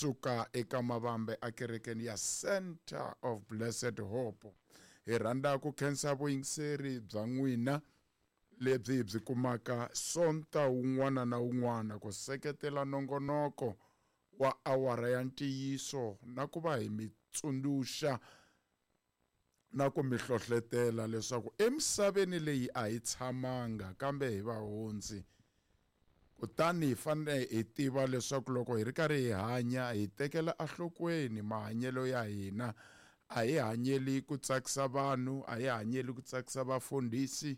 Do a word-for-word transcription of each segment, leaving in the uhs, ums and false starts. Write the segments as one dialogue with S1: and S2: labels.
S1: Kusuka eka Mavambe akerekeni ya Center of Blessed Hope. Hi rhandza ku khensa vuyingiseri bya n'wina lebyi hi byi kumaka Sonta wun'wana na wun'wana ku seketela nongonoko wa awara ya ntiyiso na ku va hi mi tsundzuxa na ku mi hlohletela leswaku emisaveni leyi a hi tshamanga kambe hi vahundzi. Kutani hi fanele hi tiva leswaku loko hi ri karhi hi hanya hi tekela enhlokweni mahanyelo ya hina. A hi hanyeli ku tsakisa vanhu, a hi hanyeli ku tsakisa vafundhisi,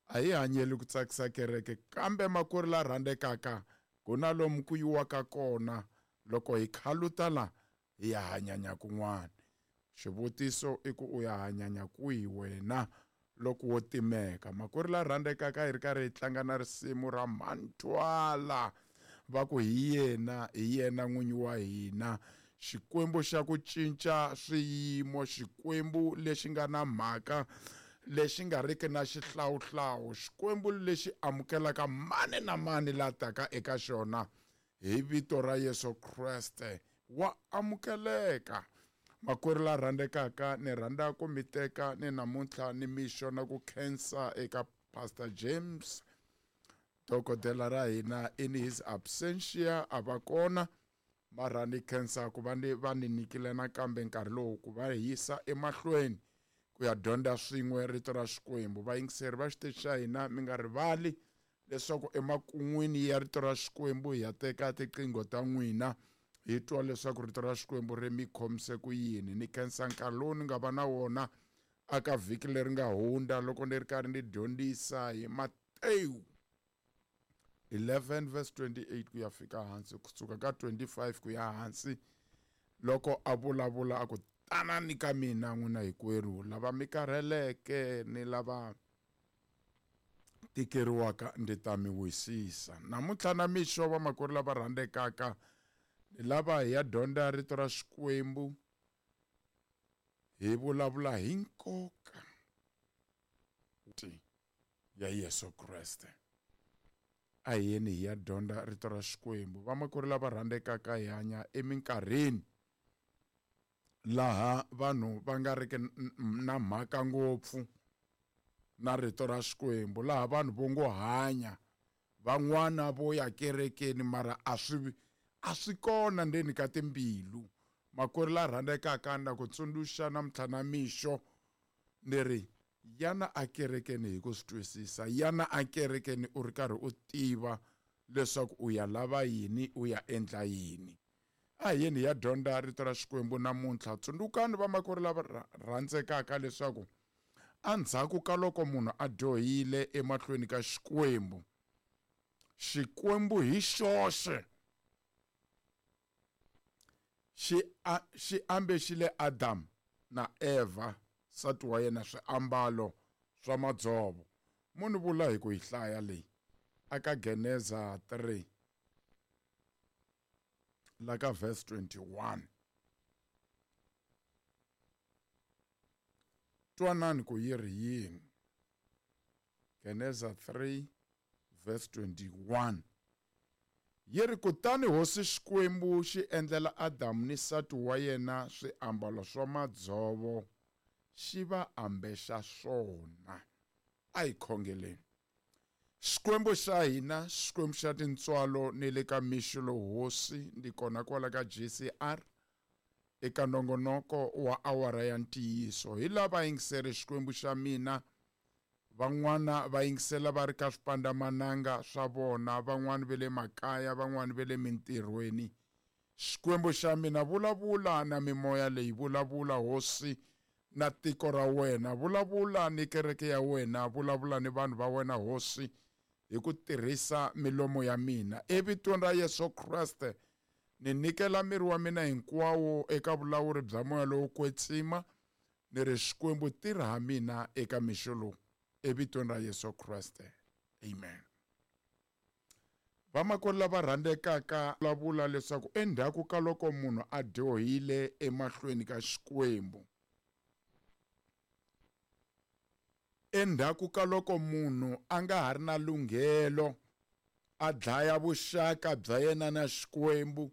S1: a hi hanyeli ku tsakisa kereke, kambe makwerhu la rhandzekaka ku na lomu ku yiwaka kona loko hi khaluta la hi ya hanyanya kun'wana. Xivutiso i ku u ya hanyanya kwihi wena loko wo timeka? Makwerhu la rhandzekaka hi ri karhi hi tlanga na risimu ra Mantwala va ku hi yena, hi yena n'winyi wa hina. Xikwembu xa ku cinca swiyimo, Xikwembu lexi nga na mhaka, lexi nga riki na xihlawuhlawu, Xikwembu lexi amukelaka mani na mani la taka eka xona hi vito ra Yesu Kreste wa amukeleka. Makwerhu la rhandzekaka, ni rhandza ku mi teka ni namuntlha ni mixo na ku khensa eka Pastor James, dokodela ra hina in his absentia a va kona, mara ni khensa ku va ni va ni nyikile nakambe nkarhi lowu ku va hi yisa emahlweni ku ya dyondza swin'we rito ra Xikwembu. Vayingiseri va xiteji xa hina, mi nga rivali leswaku emakun'wini ya rito ra Xikwembu hi ya teka tiqingho ta n'wina hi twa leswaku rito ra Xikwembu ri mi khomise ku yini. Ni khensa nkarhi lowu ni nga va na wona aka vhiki leri nga hundza loko ni ri karhi ni dyondzisa hi Matewu eleven verse twenty-eight ku ya fika hansi, kusuka ka twenty-five ku ya hansi, loko a vulavula a ku tanani ka mina n'wina hinkwerhu lava mi karheleke ni lava tikeriwaka, ndzi ta mi wisisa. Namuntlha na mixo vamakwerhu lava rhandzekaka, ni lava hi ya dyondza rito ra Xikwembu, hi vulavula hi nkoka ya Yesu Kreste. A hi yeni hi ya dyondza rito ra Xikwembu. Vamakwerhu lava rhandzekaka, hi hanya eminkarhini laha vanhu va nga riki na mhaka ngopfu na rito ra Xikwembu, laha vanhu vo ngo hanya, van'wana vo ya kerekeni mara a swi a swi kona ndzeni ka timbilu. Makwerhu la rhandzekaka, na ku tsundzuxa namuntlha na mixo ni ri yana akerekeni hi ku swi twisisa, yana akerekeni u ri karhi u tiva leswaku u ya lava yini, u ya endla yini. A hi yeni hi ya dyondza rito ra Xikwembu namuntlha. Tsundzukani vamakwerhu lava rhandzekaka leswaku endzhaku ka loko munhu a dyohile emahlweni ka Xikwembu, Xikwembu hi xoxe xi xi ambexile Adam na Eva nsati wa yena swiambalo swa madzovo. Munhu vula hi ku yi hlaya leyi aka Geneza three la ka verse twenty-one. Twanani ku yi ri yini. Geneza three verse twenty-one. Yi ri, kutani Hosi Xikwembu xi endlela Adamu ni nsati wa yena swiambalo swa madzovo, xi va ambexa swona. A hi khongeleni. Xikwembu xa hina, Xikwembu xa tintswalo, ni le ka mixo lowu Hosi, ndi kona kwala ka G C R eka nongonoko wa awara ya ntiyiso. Hi lava yingiseri Xikwembu xa mina, van'wana va yingisela va ri ka swipandamananga swa vona, van'wana va le makaya, van'wana va le mintirhweni. Xikwembu xa mina, vulavula na mimoya leyi, vulavula Hosi na tiko ra wena, vulavula ni kereke ya wena, vulavula ni vanhu va wena Hosi hi ku tirhisa milomo ya mina. Evitweni ra Yesu Kreste, ni nyikela miri wa mina hinkwawo eka vulawuri bya moya lowo kwetsima, ni ri Xikwembu tirha ha mina eka mixo lowu, evitweni ra Yesu Kreste, amen. Vamakwerhu lava rhandzekaka, vulavula leswaku endzhaku ka loko munhu a dyohile emahlweni ka Xikwembu, endzhaku ka loko munhu a nga ha ri na lunghelo a dlaya vuxaka bya yena na Xikwembu,